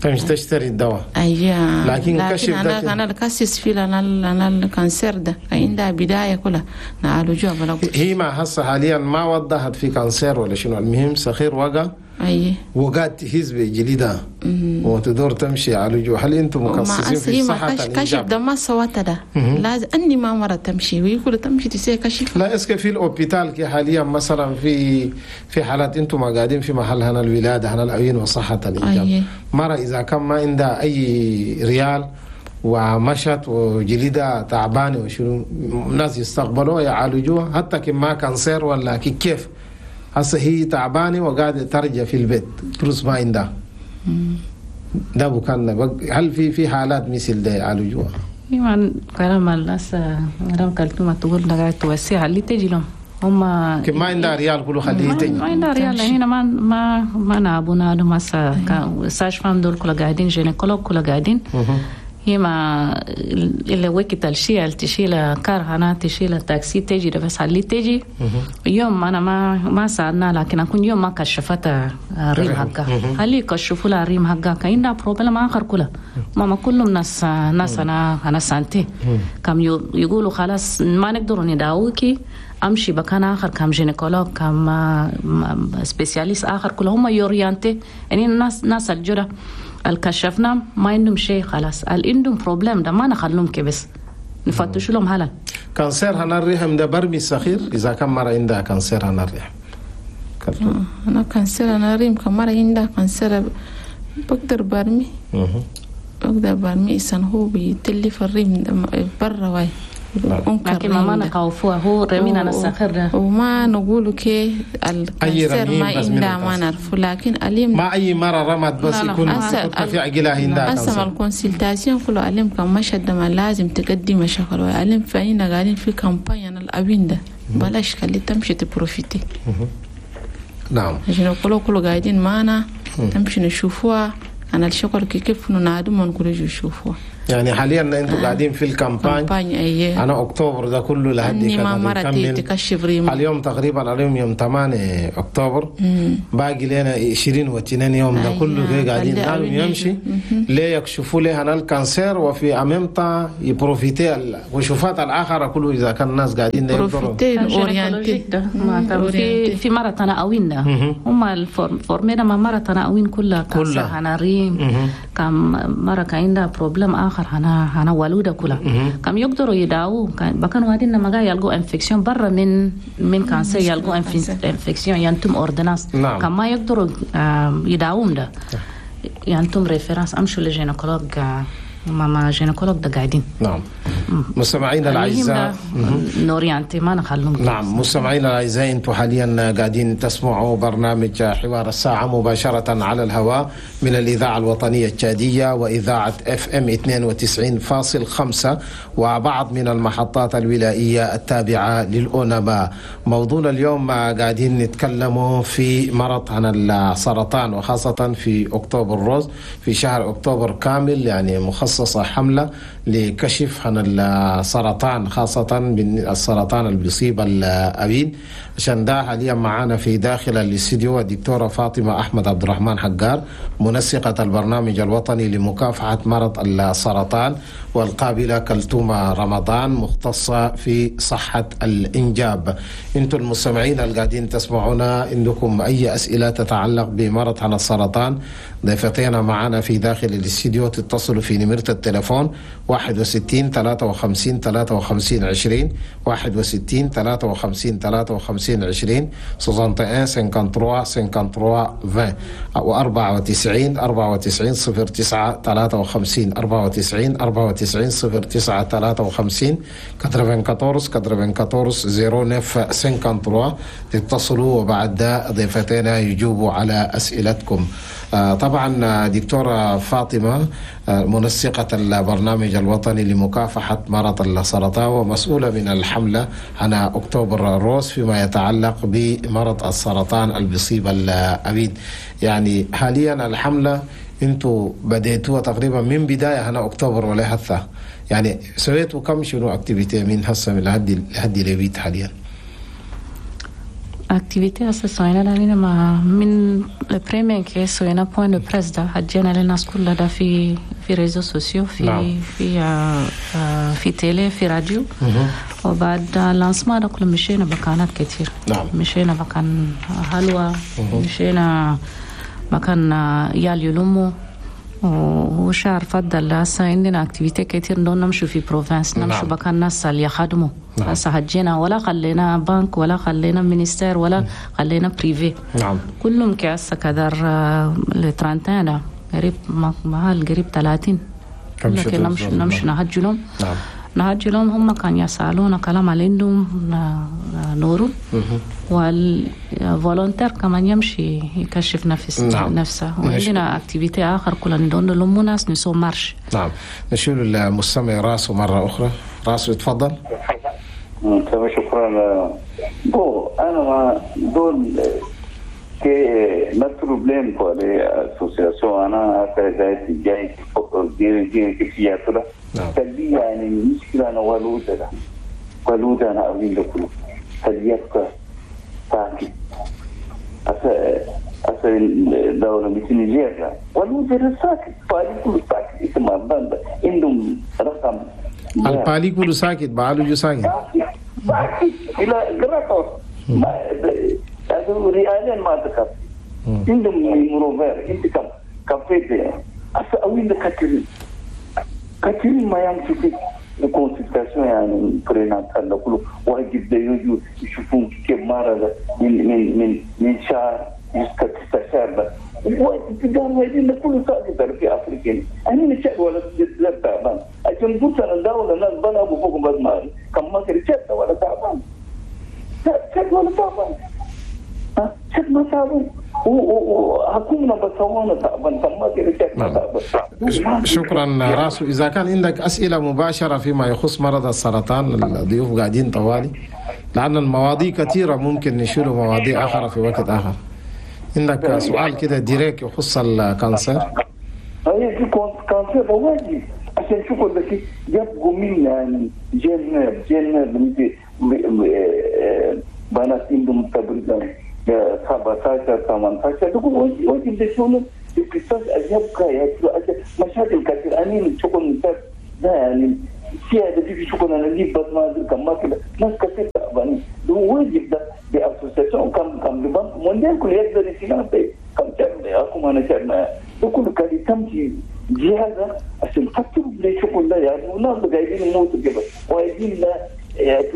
تمشي تشتري الدواء. أيوة. لكن كشف ده أنا الكاسس في أنا ال cancer ده عندها بداية كلها نعالجوها بلا. هي ما هسه حاليا ما وضحت في cancer ولا شنو، المهم صخير وقع. أيه. وقعت تهز بجلدها وتدور تمشي عالجوها. هل انتم مخصصين في صحة الإنجاب؟ كشف ده ما سوات ده لازم أني ما مرة تمشي ويقول تمشي تسوي كشف. لا est-ce que في ال hôpital كي حاليا مثلا في حالات انتم قاعدين في محل هنا الولادة هنا العين وصحة الإنجاب. أيه. مرة إذا كان ما عندها أي ريال ومشت وجلدها تعبانة وشنو الناس يستقبلوها يعالجوها حتى كما cancer ولا كيف. هسه هي تعبانة وقاعدة ترجع في البيت فلوس ما عندها ده بكان. هل في حالات مثل ده يعالجوها؟ ايوه كلام الناس مدام كلثوم تقول قاعد توسع اللي تجي لهم هم ما عندها ريال كله خليه تجي ما عندها ريال هنا ما ما ما نعبونا لهم هسه sage-femme دول كلها قاعدين gynécologue كلها قاعدين. هي ما اللي وقت الشيء تشيل car هنا تشيل تاكسي تجي بس اللي تجي يوم انا ما سالنا لكن اكون يوم ما كشفت ريم حقها خلي يكشفوا لها ريم حقها كاين problème اخر كله ماما كلهم ناس انا santé كم يقولوا خلاص ما نقدروا نداويكي امشي مكان اخر كم gynécologue كم spécialiste اخر كلهم هم orienter يعني الناس ناس الجرة الكشفنا ما عندهم شيء خلاص اللي عندهم problème ده ما نخلوهم كبس نفتشوا لهم هلا. cancer هنا الرحم ده برمي الصخير اذا كان مرة عندها cancer هنا الرحم. انا cancer هنا الرحم كان مرة عندها cancer بقدر برمي بقدر برمي إنسان هو بيتلف الرحم برا واي لكن ما نخوفوها هو رمينا الصخر ده وما نقول كي ال cancer ما عندها ما نعرفه لكن أليم ما أي مرة رمت بس يكون في عقلها عندها أصلا ال consultation كله أليم كان مشهد ما لازم تقدم شغل وأليم فإنا قاعدين في campagne الأبين ده بلاش خلي تمشي ت profiter. نعم عشان كله قاعدين معنا تمشي نشوفوها أنا الشغل كيف ننادم ونقول يشوفوها. يعني حاليا انتم قاعدين في ال campagne. أيه. انا اكتوبر ده كله لحد كده اليوم تقريبا اليوم يوم 8 اكتوبر باقي لنا 22 يوم ده كله قاعدين نعم يمشي ليه يكشفوا ليه انا ال cancer وفي امامتا ي profiter الكشوفات الاخرى كله اذا كان الناس قاعدين يقدروا orienter في مرة تناوين هم ال formés ما مرة تناوين كلها cancer انا ريم كم مرة كان عندها problème اخر هنا والودة كلها كم يقدروا يداووا بكان وادين لما جاي يلقوا infection برا من cancer يلقوا infection ينتم ordonnance. نعم. كم ما يقدروا يداوم ده ينتم référence امشوا ل gynécologue ماما gynécologue ده قاعدين. نعم. مستمعينا الاعزاء ن orienter ما نخلهم. نعم مستمعينا الاعزاء انتم حاليا قاعدين تسمعوا برنامج حوار الساعة مباشرة على الهواء من الاذاعة الوطنية التشاديه واذاعة FM 92.5 وبعض من المحطات الولائيه التابعة للاونما. موضوعنا اليوم قاعدين نتكلموا في مرض عن السرطان وخاصة في اكتوبر rose في شهر اكتوبر كامل يعني مخصص مخصصة حملة لكشف عن السرطان، خاصة من السرطان اللي بيصيب الأبين. عشان ده حاليا معانا في داخل الاستديو الدكتورة فاطمة أحمد عبد الرحمن حجار، منسقة البرنامج الوطني لمكافحة مرض السرطان، والقابلة كلثومة رمضان مختصة في صحة الإنجاب. انتم المستمعين القاعدين تسمعونا، عندكم أي أسئلة تتعلق بمرض عن السرطان، ضيفتنا معنا في داخل الاستديو تتصلوا في نمرة التليفون 61 53 53 20، 61 53 53 20، 61 53 53 20، أو 94 94 09 53، 94 94 09 53، 94 94 09 53. تتصلوا وبعد ده ضيفتنا يجيبوا على أسئلتكم. طبعا دكتورة فاطمة منسقة البرنامج الوطني لمكافحة مرض السرطان ومسؤولة من الحملة على October Rose فيما يتعلق بمرض السرطان اللي بيصيب الأبيد. يعني حاليا الحملة انتوا بديتوها تقريبا من بداية هنا أكتوبر ولا هسه، يعني سويتوا كم شنو activité من هسه من لحد لبيت حاليا؟ activité هسه سوينا لنا ما من ال premier كي سوينا point de presse ده حجينا للناس كلها ده في réseaux sociaux، في نعم. في في télé، في راديو. وبعد lancement ده كله مشينا مكانات كتير. مشينا مكان حلوى، مشينا مكان يال يلمو وشهر فضل. هسه عندنا activité كتير، نون نمشوا في province، نمشوا مكان ناس اللي يخدموا. هسه حجينا ولا خلينا بنك ولا خلينا ministère ولا خلينا privé. كلهم كهسه كدر ال trentaine قريب محل قريب 30. كم لكن شتو نمشي بالضبط؟ نمشي نهجي لهم. نهجي لهم، هم كان يسألونا كلام اللي عندهم نورو، وال volontaire كمان يمشي يكشف نفس نفسه. وعندنا activité آخر كلنا ندون لهم ناس نسو marche. نعم، نشيل المستمع راسه مرة أخرى. راسه يتفضل. تمام، شكرا. bon انا ما دول كي ما problème quoi les associations انا جاي جاي جاي كيف يا تلي يعني المشكله انا ولوده ده ولوده انا اقول لكم تليك ساكت أسا الدولة مثل نيجيريا ولوده ساكت بالي كله ساكت اسمه بند عندهم رقم البالي كله ساكت بعالجه ساكت ساكت الى جراتوس ما هذا ريالين ما تكفي عندهم numéro vert انت كم كفيت هسه اوين كثيرين كثيرين ما يمشوا في ال consultation يعني prénatale كله واجب ده يجوا يشوفون كيف مرض من شهر jusqu'à 9 شهر وتقال واجدين كله ساكت في افريقيا انا نشأ ولا تعبان عشان قلت انا دولة ناس بنا ابو فوق بس ما كم ما كريت ولا تعبان شد ولا تعبان شد ما تعبان وحكومنا بسوانا تعبان كم ما كريت ما تعبان. شكرا راسو. إذا كان عندك أسئلة مباشرة فيما يخص مرض السرطان، الضيوف قاعدين طوالي لأن المواضيع كثيرة، ممكن نشيل مواضيع أخرى في وقت آخر. عندك سؤال كده direct يخص ال cancer؟ هي في cancer واجب عشان شوفوا لك يبقوا من يعني jeune jeune مثل بنات عندهم تقريبا 17 18 تقول واجب ده شنو dépistage يبقى مشاكل كثير. أنا شغل مثال ده يعني في هذا في شغل أنا اللي بس ما أدري كم ما كده ناس كثير تعبانين ده واجب ده ب association كم ال Banque mondiale كل يقدر يسينا كم شهر أكو أنا شهر ده كله كان تمشي جهازا عشان تكتب لي شغل ده يعني وناس قاعدين يموتوا كده واجدين لا يعني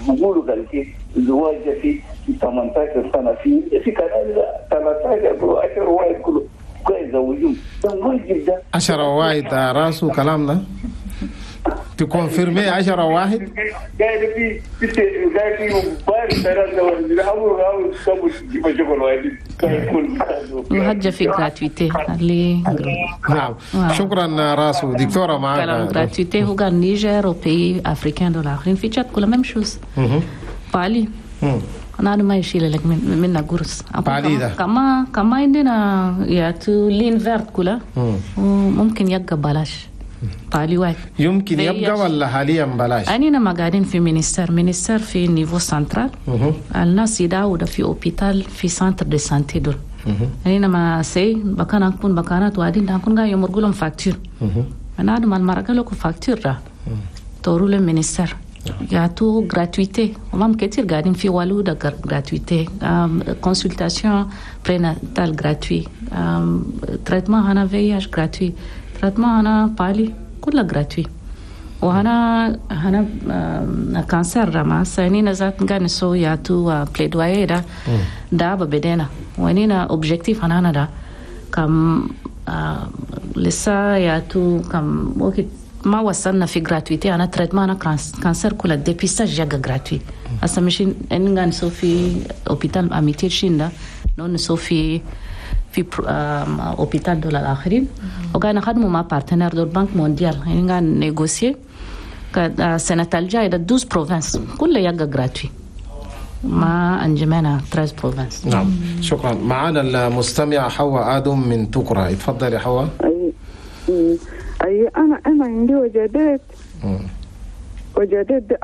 بقولوا قال كي زواج في 18 سنة في كان 13 10 واحد كله كويس يزوجون ده واجب ده 10 واحد راسه كلامنا ت confirmer 10 واحد قاعد في قاعد في بارك ثلاثة أول أول تسوي شغل واحد وحجة في gratuité اللي نعم شكرا راسو. دكتورة معنا كلام gratuité هو قال نيجر و pays africains دول آخرين في تشاد كل même chose palu. أنا ما يشيل لك منا قرص. كما عندنا يا تو ligne verte كلها وممكن يبقى بلاش. palu واحد يمكن يبقى ولا حاليا بلاش؟ أنينا ما قاعدين في ministère في niveau central. الناس يداووا في hôpital في centre de santé دول. أنينا ما سي بكان أكون بكانات وعدين أكون قاعد يمرقوا لهم facture. أنا عندما المرقة لكم facture را تورو لهم ministère. يعطوا gratuité ومام كتير قاعدين في والودة gratuité consultation prénatale gratuit traitement هنا VIH gratuit traitement هنا palu كلها gratuit وهنا هنا cancer ما سنين ذات قاعد نسوي يعطوا plaidoyer ده ده بدينا ويننا objectif هنا ده كم لسه يعطوا كم وقت ما وصلنا في gratuité انا traitement انا cancer كل ال dépistage جا gratuit هسه مش ان نسو في hôpital Amitié شيندا نسو في hôpital دول الاخرين وكان نخدموا مع partenaires دول Banque mondiale يعني قاعد négocier السنة الجاية 12 provinces كلها يجا gratuit ما انجمنا 13 provinces. نعم شكرا. معنا المستمع حواء ادم من تكرا، اتفضلي حواء. أي أنا عندي وجدات وجدات دي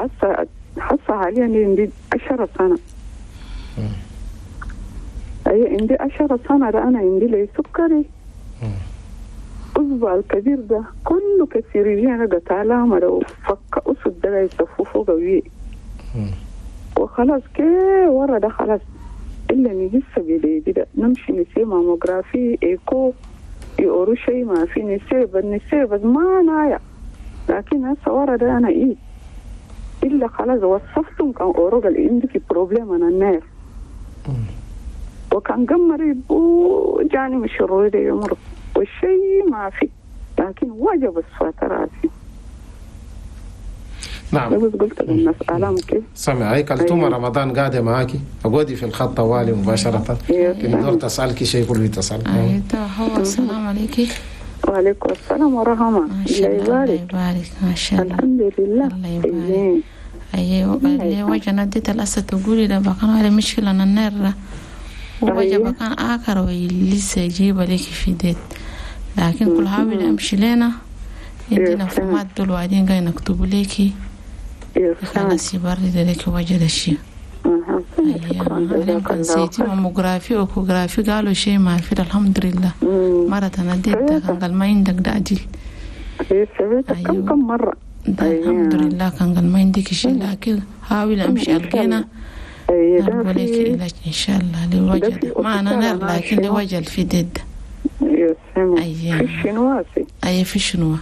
حصة حاليا عندي 10 سنة. أي عندي 10 سنة ده أنا عندي لي سكري. أصبع الكبير ده كله كثير أنا قلت علامة لو فك أسد ده يصفوه قوي. وخلاص كي ورا ده خلاص إلا نجس بليدي ده نمشي نسي mammographie écho يقولوا شيء ما في نسيب ما نايا لكن هسه ورا ده انا ايه الا خلاص وصفتهم كان اورو قال عندك problème انا ال nerf وكان قمري وجاني مش الرويدة يمرض والشيء ما في لكن وجب السواتر راسي. نعم بس قلت للناس آلام كيف سامعي كلتومة. رمضان قاعدة معاكي أقعدي في الخط طوالي مباشرة كن دور تسألك شيء كله تسأل. أيوة هو السلام عليك. وعليكم السلام ورحمة الله يبارك. ما شاء الله الحمد لله الله يبارك. أيوة اللي وجه نديت الأسد تقولي ده بكان على مشكلة النار ووجه بكان آخر ولسه يجيب لك في ديت لكن كل حاول أمشي لنا عندنا فمات دول وبعدين قاعد نكتب لك خلاص يبرد لك وجه الشيء. أيوة كان CT mammographie و échographie قالوا شيء ما في الحمد لله. مرة نديت كان قال ما عندك ده أجل. كم مرة الحمد لله كان قال ما عندك شيء لكن حاول أمشي ألقينا أقول لك علاج إن شاء الله لوجه ما أنا نار لكن لوجه في دد. أيوة في الشنواسي. أيوة في الشنوة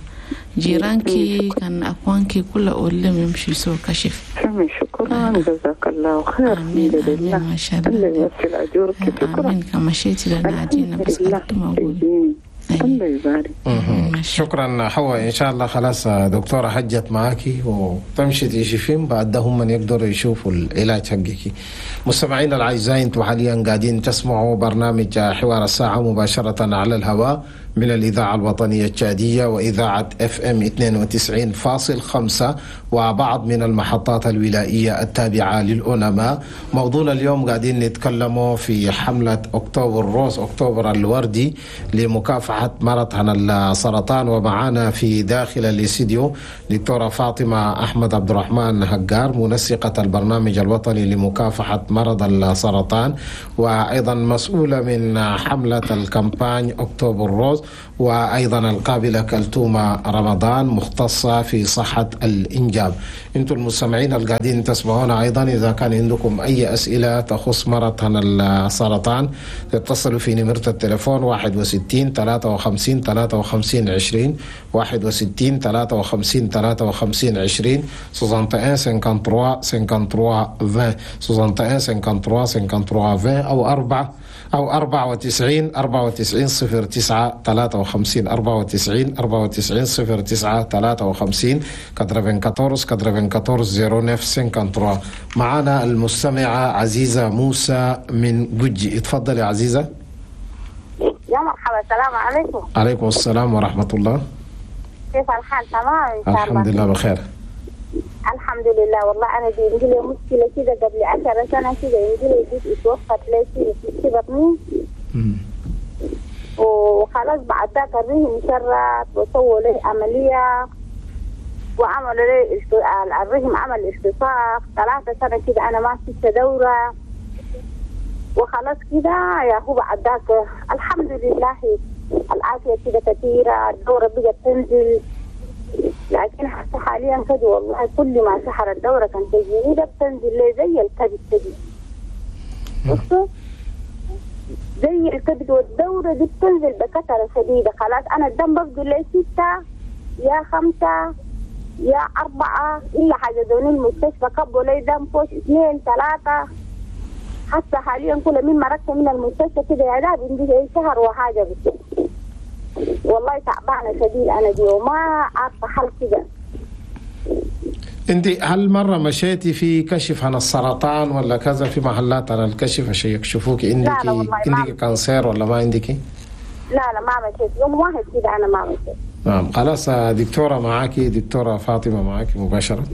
جيرانكي كان أخوانكي كله أقول لهم يمشي يسووا كشف. تمام شكرا جزاك الله خير. آمين آمين ما شاء الله. الله يوصل أجورك. شكرا. آمين كما شئت لنا عدينا بس قلت ما أقول. الله يبارك. شكرا حواء. ان شاء الله خلاص دكتورة حجت معاكي وتمشي تشوفين بعد ده هم من يقدروا يشوفوا العلاج حقك. مستمعينا الاعزاء انتم حاليا قاعدين تسمعوا برنامج حوار الساعة مباشرة على الهواء من الإذاعة الوطنية التشادية وإذاعة FM 92.5 وبعض من المحطات الولائية التابعة للأونما. موضوعنا اليوم قاعدين نتكلموا في حملة October Rose، أكتوبر الوردي، لمكافحة مرض عن السرطان. ومعانا في داخل الاستديو دكتورة فاطمة أحمد عبد الرحمن هجار، منسقة البرنامج الوطني لمكافحة مرض السرطان، وأيضا مسؤولة من حملة ال campagne October Rose، وأيضا القابلة كلتومة رمضان مختصة في صحة الإنجاب. أنتم المستمعين القاعدين تسمعونا أيضا، إذا كان عندكم أي أسئلة تخص مرض السرطان تتصلوا في نمرة التليفون 61 53 53 20 61 53 53 20 61 53 53 20 61 53 53 20 أو 4 أو 94 94 09 53 94 94 09 53 94 94 09 53. معنا المستمعة عزيزة موسى من جوجي. اتفضلي عزيزة. يا مرحبا، السلام عليكم. عليكم السلام ورحمة الله. كيف الحال؟ تمام إن شاء الله. الحمد لله بخير. الحمد الحمد لله. والله انا دي عندي لي مشكلة كده قبل 10 سنة كده، عندي لي بيت اتوفت لي في بطني وخلاص. بعد ذاك الرحم شرط وسووا لي عملية وعملوا لي الرحم عمل التصاق 3 سنة كده، انا ما شفت دوره وخلاص كده يا هو. بعد ذاك الحمد لله العافية كده كثيرة، الدورة بقت تنزل، لكن حتى حاليا كده والله كل ما سحر الدورة كان تجيني ده بتنزل لي زي الكبد تجي، بصوا زي الكبد، والدوره دي بتنزل بكثرة شديدة. خلاص انا الدم بفضل لي 6 يا 5 يا 4 الا حجزوني المستشفى كبوا لي دم فوق 2 3. حتى حاليا كل من مرقت من المستشفى كده يا داب عندي شهر وحاجه بس. والله تعبانة شديد انا دي وما عارفه حل كده. انت هل مرة مشيتي في كشف عن السرطان ولا كذا في محلات على الكشف عشان يكشفوك عندك عندك cancer ولا ما عندك؟ لا لا ما مشيت يوم واحد كده انا ما مشيت. نعم خلاص دكتورة معاكي، دكتورة فاطمة معاكي مباشرة.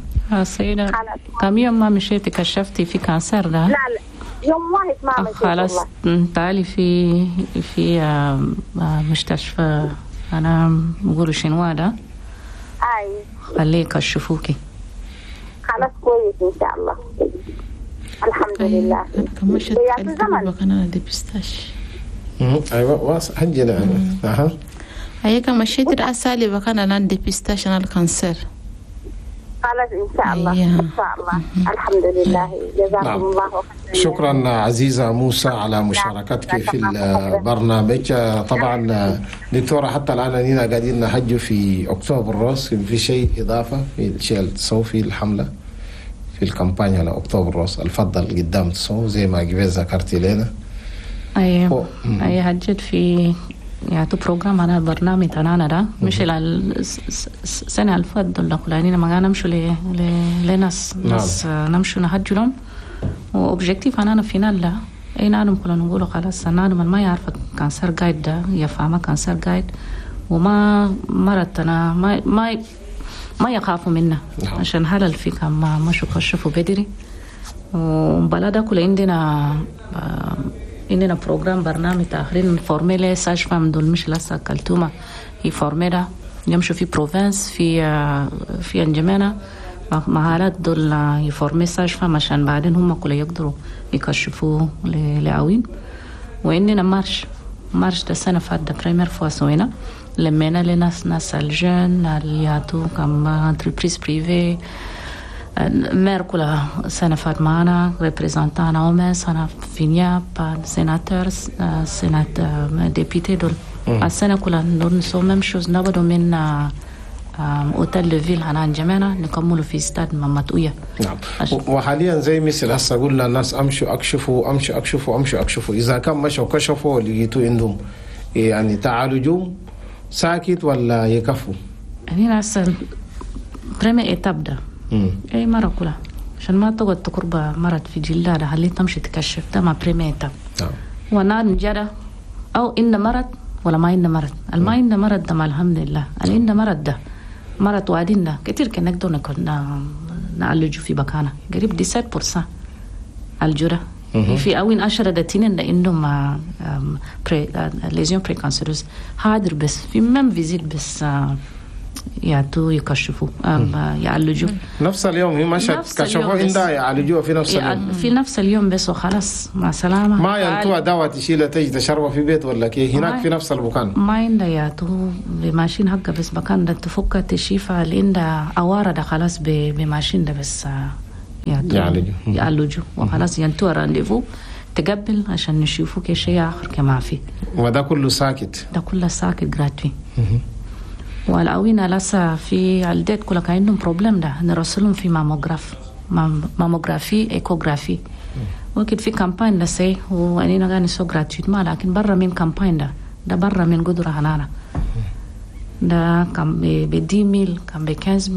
سيدة كم يوم ما مشيتي كشفتي في cancer ده؟ لا لا يوم واحد ما مشيت. خلاص تعالي في مستشفى انا بقولوا شنو ده؟ اي خليه يكشفوكي. خلاص كويس ان شاء الله الحمد لله. كمشت انا dépistage. ايوه واصل هنجي. اها هي كمشيت الاسالي بكان انا dépistage انا ال cancer. خلاص ان شاء الله ان شاء الله الحمد لله. جزاكم الله خيرا. شكرا عزيزه موسى على مشاركتك في البرنامج. طبعا دكتورة حتى الان اننا قاعدين نحج في October Rose، في شيء اضافه في الشيء اللي تسوي في الحملة في ال campagne على October Rose الفضل قدام تسوي زي ما قبل ذكرتي لنا؟ ايوه اي حجت في يعني programme انا برنامج تاعنا ده مش السنة الفضل الاولانية ما نمشوا لناس ناس نمشوا نحجوا لهم و objectif انا final لا اي نانم كلنا نقولوا خلاص نانم ما يعرف cancer قايد ده يفهم cancer قايد وما مرتنا ما ما ما يخافوا منا عشان هذا الفكرة ما مشوا كشفوا بدري. وبلا كل عندنا programme برنامج تاخرين former les sages-femmes دول مش لسه كلتومة هي former يمشوا في province في انجمانا مهارات دول ي former sages-femmes عشان بعدين هم كل يقدروا يكشفوا لعوين. وعندنا marche ده السنة فات première fois سوينا لمينا لناس ناس ال jeunes اللي comme entreprises privées maire كلها سنة فات معنا représentant OMS أنا FINIAP sénateur sénat député دول السنة كلها نسو même chose نبدو من hôtel de ville هنا انجمينا نكملوا في ستاد مماتوية. نعم وحاليا زي مثل هسه قلنا الناس امشوا اكشفوا امشوا اكشفوا امشوا اكشفوا، اذا كان مشوا كشفوا لقيتوا عندهم يعني تعالجوا ساكت ولا يكفوا؟ هنا هسه première étape ده اي مرة كلها عشان ما تقعد تقرب مرض في جلدها ده خليه تمشي تكشف ده ما première étape. ونار جرى او ان مرض ولا ما إن مرض، الما إن مرض ده ما الحمد لله، اللي إن مرض ده مرض وادين ده كتير كنا نقدر نعالجه في بكانة قريب 17% الجرة في أوين 10 دتين ده إنهم pré lésions précancéreuses حاضر بس في même visite بس يعطوا يكشفوا يعالجوا نفس اليوم. هي مشت كشفوا عندها يعالجوها في نفس اليوم في نفس اليوم بس وخلاص مع سلامة. ما ينطوها دواء تشيلها تيجي تشربها في بيت ولا كي هناك في نفس المكان ما عندها يعطوا ب machine حقها بس مكان ده تفك تشيفها اللي عندها عوارة ده خلاص ب machine ده بس يعالجوا وخلاص ينطوها rendez-vous تقبل عشان نشوفوا كي شيء آخر كما في. وده كله ساكت؟ ده كله ساكت gratuit. والعوينة لسه في الديت كلها كان عندهم problème ده نرسلهم في mammographe mammographie échographie وكد في campagne ده سي وأنينا قاعد نسو gratuitement لكن برا من campagne ده برا من قدرة هنانا ده كان ب 10000 كان ب 15000